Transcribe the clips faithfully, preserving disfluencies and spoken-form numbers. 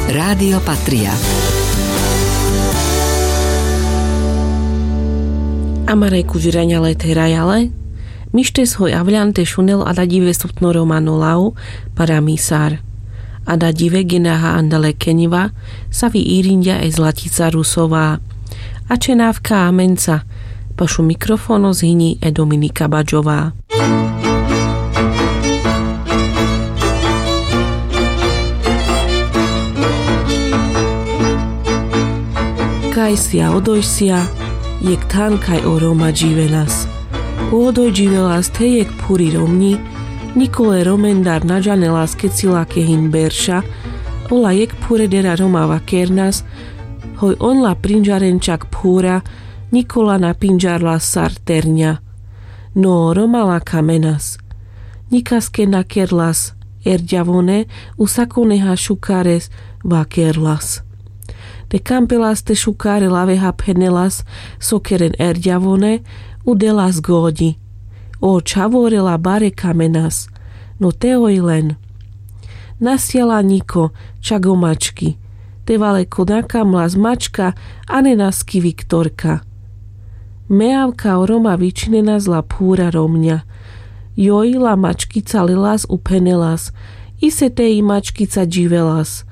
Rádio Patria. Amare kudžiraňa le therajale. Mištes hoj avľan te šunel adadive soptno romano lav Paramisar. Adadive genaha andale keňva, savi irinďa e Zlatica Rusová. A čenávka amenca. Pašu mikrofono zhini e Dominika Badžová. Kajsia odojsia, jekh than kaj o Roma dživenas. O odoj dživelas the jekh phuri romňi. Nikole romendar na džanelas keci lake hin berša. Ola jekh phuredera Roma vakernas, hoj on la prinďaren čak phura, Nikola na pinďarlas sar terňa. No Roma la kamenas. Nikaske na kerlas erďavone, u sakoneha šukares vakerlas. Te kampelas te šukare laveha phenelas so keren erďavone, u delas goďi. O čhavore la bare kamenas. No te oj len. Nasjala Niko, čak o mački. Te vale ko na kamlas mačka, a ne naski Viktorka. Me avka o Roma vičhinenas la phura romňa. Joj la mačkica lelas u phenelas. Ise te i mačkica dživelas.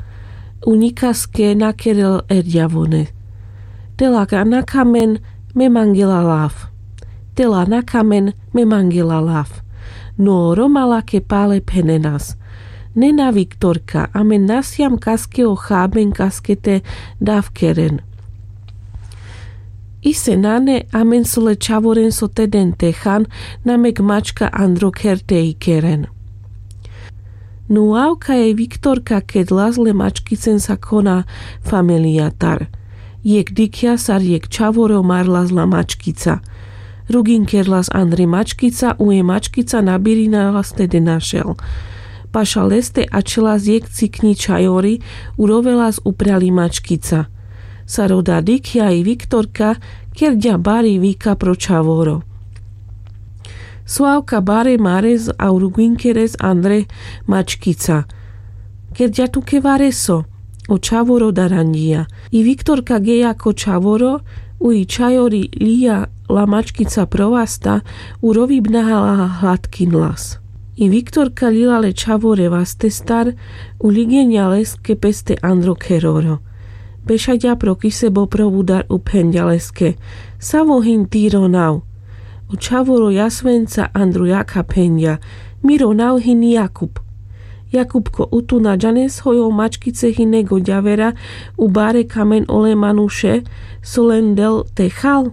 U nikaske na kerel erďavone. Te la na kamen, me mangela lav. Te la na kamen, me mangela lav. No Roma lake pale phenenas. Ne na Viktorka, amen na siam kaske o haben kaske te dav keren. Ise nane, amen so le čhavoren so te den te han, na mek mačka andro kher te i keren. No avka e Viktorka kedlas le mačkicen sakona familijatar. Jekh dikhja sar jekh čhavoro marlas la mačkica. Rugin kerlas andre mačkica, u e mačkica na birinalas te de našel. Paša leste ačhelas jekh cikňi čhajori, u rovelas upral i mačkica. Sar oda dikhja i Viktorka, kerďa bari vika pro čhavoro. So avka bare mares a u rugin keres andre mačkica. Kerďa tuke vareso. O čhavoro daranďija. I Viktorka geja ko čhavoro, u i čhajori lija la mačkica pro vasta, u rovibnaha la hladkinlas. I Viktorka lila le čhavore vastestar, u ligeňa leske peste andro kheroro. Bešaďa pro kisebo pro vudar u phenďa leske: Savo hin ti ro nav? O čhavoro jasvenca andro jakha phenďa: Mi ro nav hin Jakub. Jakubko, u tu na džanes hoj o mačkice hine goďavera, u bare kamen ole manuše, so len del te hal?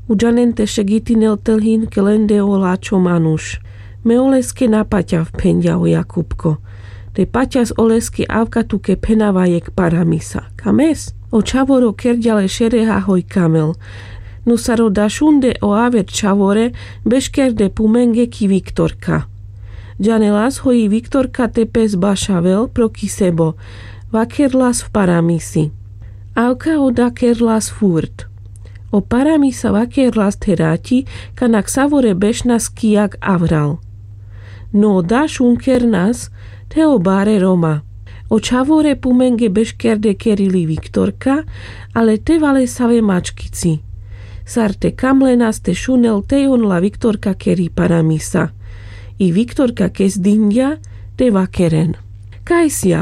U džanen te šegitinel te lhin ke len de o lačho manuš. Me oleske na paťav, phenďa o Jakubko. Te paťas oleske avka tuke phenava jekh paramisa. Kames? O čhavoro kerďa le šereha hoj kamel. No sar oda šunde o aver čhavore, beškerde pumenge ki Viktorka. Džanelas hoj i Viktorka te pes bašavel pro kisebo. Vakerlas v paramisi. Avka oda kerlas furt. O paramisa vakerlas the raťi, kana ksavore bešnas ki jak avral. No oda šun kernas, the o bare Roma. O čhavore pumenge beškerde kerili Viktorka, ale te vale save mačkici. Sar te kamlenas te šunel tej on la Viktorka keri paramisa. I Viktorka kes dinďa, te vakeren. Kaj sija,